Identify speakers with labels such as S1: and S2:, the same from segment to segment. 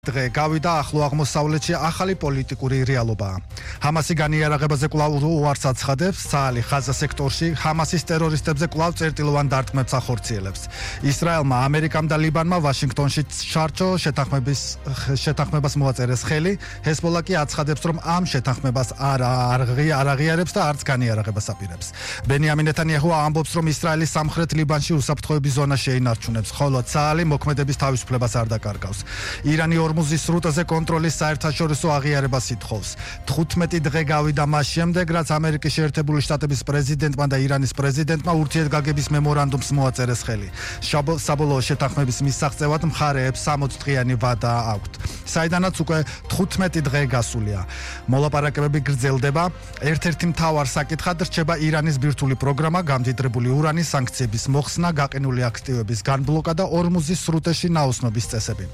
S1: დღე გავიდა ახლო აღმოსავლეთში ახალი პოლიტიკური რეალობაა. ჰამასი განიარაღებაზე კვლავ უარს აცხადებს, საალი ღაზა სექტორში ჰამასის ტერორისტებზე კვლავ წერტილოვან დარტყმებს ახორციელებს. ისრაელმა, ამერიკამ და ლიბანმა ვაშინგტონში შარჩო შეთანხმებას მოაწერეს ხელი, ჰეზბოლა კი აცხადებს, რომ ამ შეთანხმებას არ აღიარებს და არც განიარაღებას აპირებს. ბენიამინ ნეტანიაჰუ ამბობს, რომ ისრაელის სამხრეთ ლიბანში უსაფრთხოების ზონა შეინარჩუნებს, ხოლო საალი მოქმედების თავისუფლებას არ დაკარგავს. ირანი ორმუზის სრუტაზე კონტროლის საერთაშორისო აღიარებას ითხოვს. 15 დღე გავიდა მას შემდეგ, რაც ამერიკის შეერთებული შტატების პრეზიდენტმა და ირანის პრეზიდენტმა ურთიერთგაგების მემორანდუმს მოაწერეს ხელი. საბოლოო შეთანხმების მისაღწევად მხარეებს 60 დღიანი ვადა აქვთ. საიდანაც უკვე 15 დღე გასულია. მოლაპარაკებები გრძელდება. ერთ-ერთი მთავარ საკითხად რჩება ირანის ბირთვული პროგრამა, გამდიდრებული ურანის სანქციების მოხსნა, გაყინული აქტივების განბლოკა და ორმუზის სრუტეში ნაოსნობის წესები.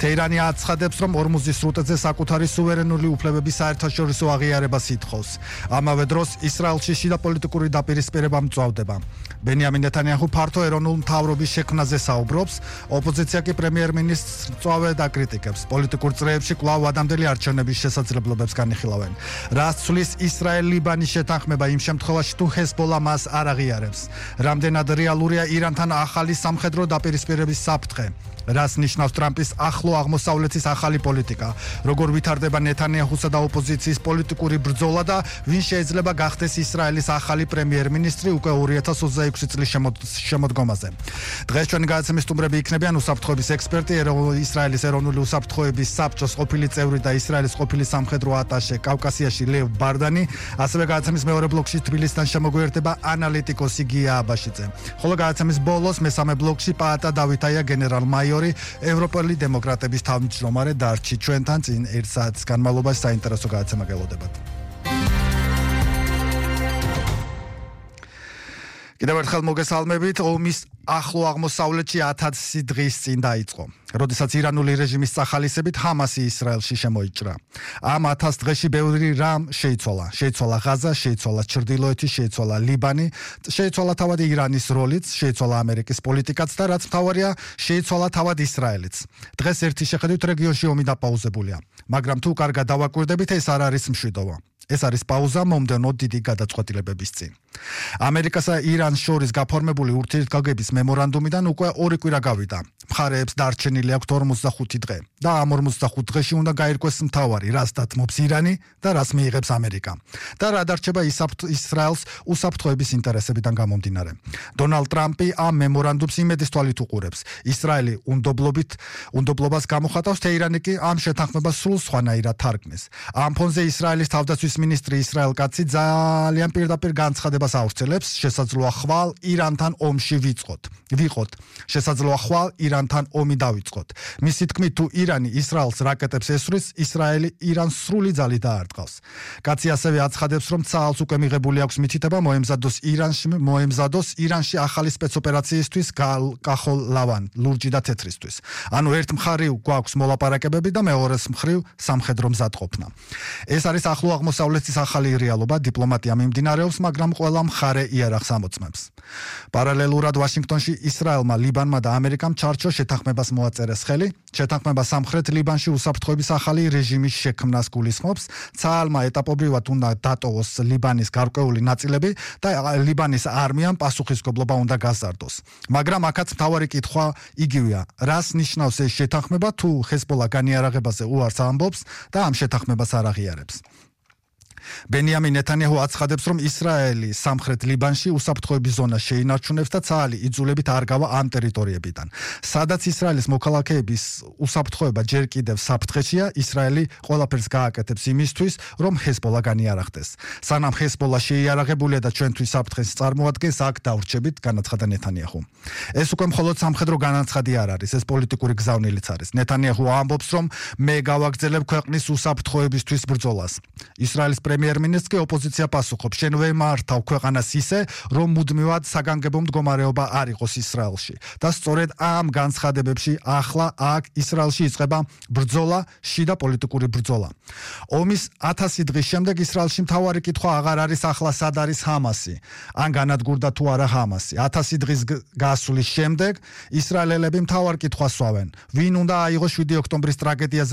S1: თეირანი აცხადებს, რომ ორმუზის სრუტეზე საკუთარი სუვერენული უფლებების საერთაშორისო აღიარებას ითხოვს. ამავე დროს ისრაელში შიდა პოლიტიკური დაპირისპირება მწვავდება. ბენიამინ ნეტანიაჰუ ფართო ეროვნულ მთავრობის შექმნაზე საუბრობს, ოპოზიცია კი პრემიერ-მინისტრს მწვავედ აკრიტიკებს. პოლიტიკურ წრეებში კვლავ ადამდელი არჩევნების შესაძლებლობებს განიხილავენ. რაც ცვლის ისრაელ-ლიბანის შეთანხმება იმ შემთხვევაში, თუ ჰეზბოლა მას არ აღიარებს. რამდენად რეალურია ირანთან ახალი სამხედრო დაპირისპირების საფრთხე? რას ნიშნავს ტრამპის ახლო აღმოსავლეთის ახალი პოლიტიკა? როგორ ვითარდება ნეტანიაჰუსა და ოპოზიციის პოლიტიკური ბრძოლა და ვინ შეიძლება გახდეს ისრაელის ახალი პრემიერ-მინისტრი უკვე 2026 წლის შემოდგომაზე? დღეს ჩვენი გადაცემის სტუმრები იქნებიან უსაფრთხოების ექსპერტი, ისრაელის ეროვნული უსაფრთხოების საბჭოს ყოფილი წევრი და ისრაელის ყოფილი სამხედრო ატაშე კავკასიაში ლევ ბარდანი, ასევე გადაცემის მეორე ბლოკში თბილისიდან შემოგვიერთდება ანალიტიკოსი გია აბაშიძე. ხოლო გადაცემის ბოლოს მესამე ბლოკში პაატა დავითაია გენერალ-მაიორი, ევროპელი დემოკრატების თავმჯდომარე დარჩი ჩვენთან წინ 1 საათის განმავლობაში საინტერესო გადაცემა გელოდებათ. კიდევ ერთხელ მოგესალმებით. ომის ახლო აღმოსავლეთში 1000 დღის წინ დაიწყო, როდესაც ირანული რეჟიმის სახალისებით ჰამასი ისრაელში შემოიჭრა. ამ 1000 დღეში ბევრი რამ შეიცვალა. შეიცვალა ღაზა, შეიცვალა ჩრდილოეთი, შეიცვალა ლიბანი, შეიცვალა თავად ირანის როლიც, შეიცვალა ამერიკის პოლიტიკაც და რაც მთავარია, შეიცვალა თავად ისრაელიც. დღეს ერთი შეხედვით რეგიონში ომი დაპაუზებულია, მაგრამ თუ კარგად დავაკვირდებით, ეს არ არის მშვიდობა. ეს არის პაუზა მომდევნო დიდი გადაწყვეტილებების წინ. ამერიკასა ირანს შორის გაფორმებული ურთიერთგაგების მემორანდუმიდან უკვე 2 კვირა გავიდა. მხარეებს დარჩენილი აქვთ 45 დღე და ამ 45 დღეში უნდა გაირკვეს მთავარი, რას დათმობს ირანი და რას მიიღებს ამერიკა. და რა დარჩება ისრაელს უსაფრთხოების ინტერესებიდან გამომდინარე. დონალდ ტრამპი ამ მემორანდუმს იმედის თვალით უყურებს. ისრაელი უნდობლობას გამოხატავს, თეირანი კი ამ შეთანხმებას სრულ სხვანაირად თარგმნის. ამ ფონზე ისრაელის თავდაცვის მინისტრი ისრაელ კაცი ძალიან პირდაპირ განცხადებას ავრცელებს, შესაძლოა ხვალ ირანთან ომში ვიყოთ. შესაძლოა ხვალ ირანთან ომი დავიწყოთ. მისი თქმით, თუ ირანი ისრაელს რაკეტებს ესვრის, ისრაელი ირანს სრული ძალით დაარტყავს. კაცი ასევე აცხადებს, რომ ცალს უკვე მიღებული აქვს მითითება მოემზადოს ირანში ახალი სპეცოპერაციისთვის კახოლ-ლავან, ლურჯი და თეთრისთვის. ანუ ერთ მხრივ გვაქვს მოლაპარაკებები და მეორეს მხრივ სამხედრო მზადყოფნა. ეს არის ახლო აღმოსავლეთის ახალი რეალობა, დიპლომატია მიმდინარეობს, მაგრამ ყველა მხარე იარაღს ამოწმებს. პარალელურად ვაშინგტონში ისრაელმა, ლიბანმა და ამერიკამ ჩარჩო შეთანხმებას მოაწერეს ხელი. შეთანხმება სამხრეთ ლიბანში უსაფრთხოების ახალი რეჟიმის შექმნას გულისხმობს. ცაალმა ეტაპობრივად უნდა დატოვოს ლიბანის გარკვეული ნაწილები და ლიბანის არმიამ პასუხისმგებლობა უნდა გაზარდოს. მაგრამ აქაც მთავარი კითხვა იგივეა, რას ნიშნავს ეს შეთანხმება, თუ ჰეზბოლა განიარაღებაზე უარს ამბობს და ამ შეთანხმებას არ აღიარებს. ბენიამინ ნეტანიაჰუ აცხადებს, რომ ისრაელი სამხრეთ ლიბანში უსაფრთხოების ზონას შეინარჩუნებს და ცალი იძულებით არ გავა ამ ტერიტორიებიდან. სადაც ისრაელის მოქალაქეების უსაფრთხოება ჯერ კიდევ საფრთხეშია, ისრაელი ყველაფერს გააკეთებს იმისთვის, რომ ჰეზბოლა განიარაღდეს. სანამ ჰეზბოლა შეიარაღებულია და ჩვენთვის საფრთხეს წარმოადგენს, აქ დავრჩებით, განაცხადა ნეტანიაჰუ. ეს უკვე მხოლოდ სამხედრო განაცხადი არ არის, ეს პოლიტიკური გზავნილიც არის. ნეტანიაჰუ ამბობს, რომ მე გავაგრძელებ ქვეყნის უსაფრთხოებისთვის ბრძოლას. ისრაელის პრემიერ-მინისტრი ოპოზიცია პასუხობს, შენ ვემართავ ქვეყანას ისე, რომ მუდმივად საგანგებო მდგომარეობა არ იყოს ისრაელში. და სწორედ ამ განცხადებებში ახლა აქ ისრაელში იწყება ბრძოლა, შიდა პოლიტიკური ბრძოლა. ომის 1000 დღის შემდეგ ისრაელში მთავარი კითხვა აღარ არის ახლა სად არის ჰამასი, ან განადგურდა თუ არა ჰამასი. 1000 დღის გასვლის შემდეგ ისრაელელები მთავარ კითხვას სვავენ, ვინ უნდა აიღოს 7 ოქტომბრის ტრაგედიაზე